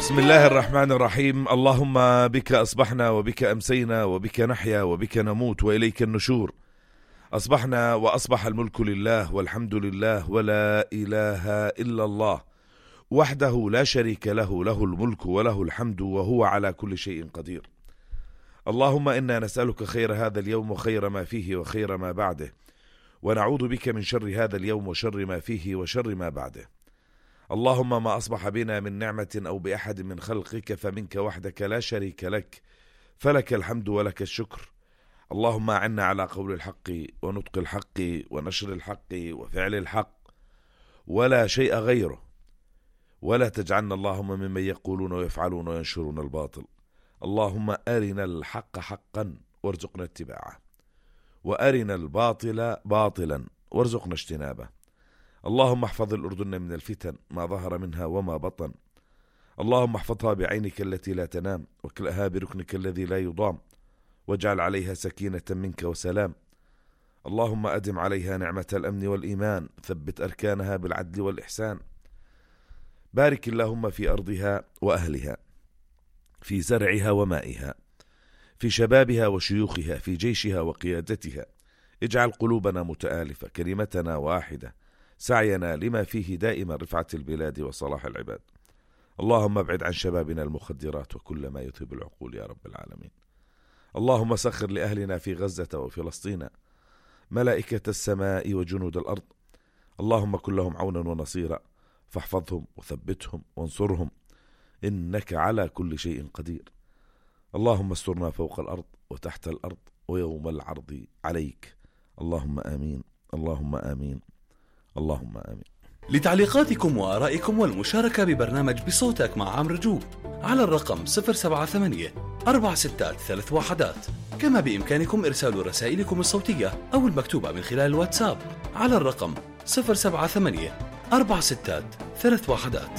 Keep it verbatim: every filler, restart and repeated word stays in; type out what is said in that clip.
بسم الله الرحمن الرحيم. اللهم بك أصبحنا وبك أمسينا وبك نحيا وبك نموت وإليك النشور. أصبحنا وأصبح الملك لله والحمد لله ولا إله إلا الله وحده لا شريك له، له الملك وله الحمد وهو على كل شيء قدير. اللهم إنا نسألك خير هذا اليوم وخير ما فيه وخير ما بعده، ونعوذ بك من شر هذا اليوم وشر ما فيه وشر ما بعده. اللهم ما أصبح بنا من نعمة أو بأحد من خلقك فمنك وحدك لا شريك لك، فلك الحمد ولك الشكر. اللهم أعنا على قول الحق ونطق الحق ونشر الحق وفعل الحق ولا شيء غيره، ولا تجعلنا اللهم ممن يقولون ويفعلون وينشرون الباطل. اللهم أرنا الحق حقا وارزقنا اتباعه، وأرنا الباطل باطلا وارزقنا اجتنابه. اللهم احفظ الأردن من الفتن ما ظهر منها وما بطن. اللهم احفظها بعينك التي لا تنام، وكلها بركنك الذي لا يضام، واجعل عليها سكينة منك وسلام. اللهم أدم عليها نعمة الأمن والإيمان، ثبت أركانها بالعدل والإحسان. بارك اللهم في أرضها وأهلها، في زرعها ومائها، في شبابها وشيوخها، في جيشها وقيادتها. اجعل قلوبنا متآلفة، كلمتنا واحدة، سعينا لما فيه دائما رفعة البلاد وصلاح العباد. اللهم ابعد عن شبابنا المخدرات وكل ما يذهب العقول يا رب العالمين. اللهم سخر لأهلنا في غزة وفلسطين ملائكة السماء وجنود الأرض. اللهم كن لهم عونا ونصيرا، فاحفظهم وثبتهم وانصرهم، إنك على كل شيء قدير. اللهم استرنا فوق الأرض وتحت الأرض ويوم العرض عليك. اللهم آمين، اللهم آمين، اللهم آمين. لتعليقاتكم وآرائكم والمشاركة ببرنامج بصوتك مع عمرو جوب على الرقم صفر سبعة ثمانية أربعة ستة ثلاث واحدات. كما بإمكانكم إرسال رسائلكم الصوتية أو المكتوبة من خلال الواتساب على الرقم صفر سبعة ثمانية أربعة ستة ثلاث واحدات.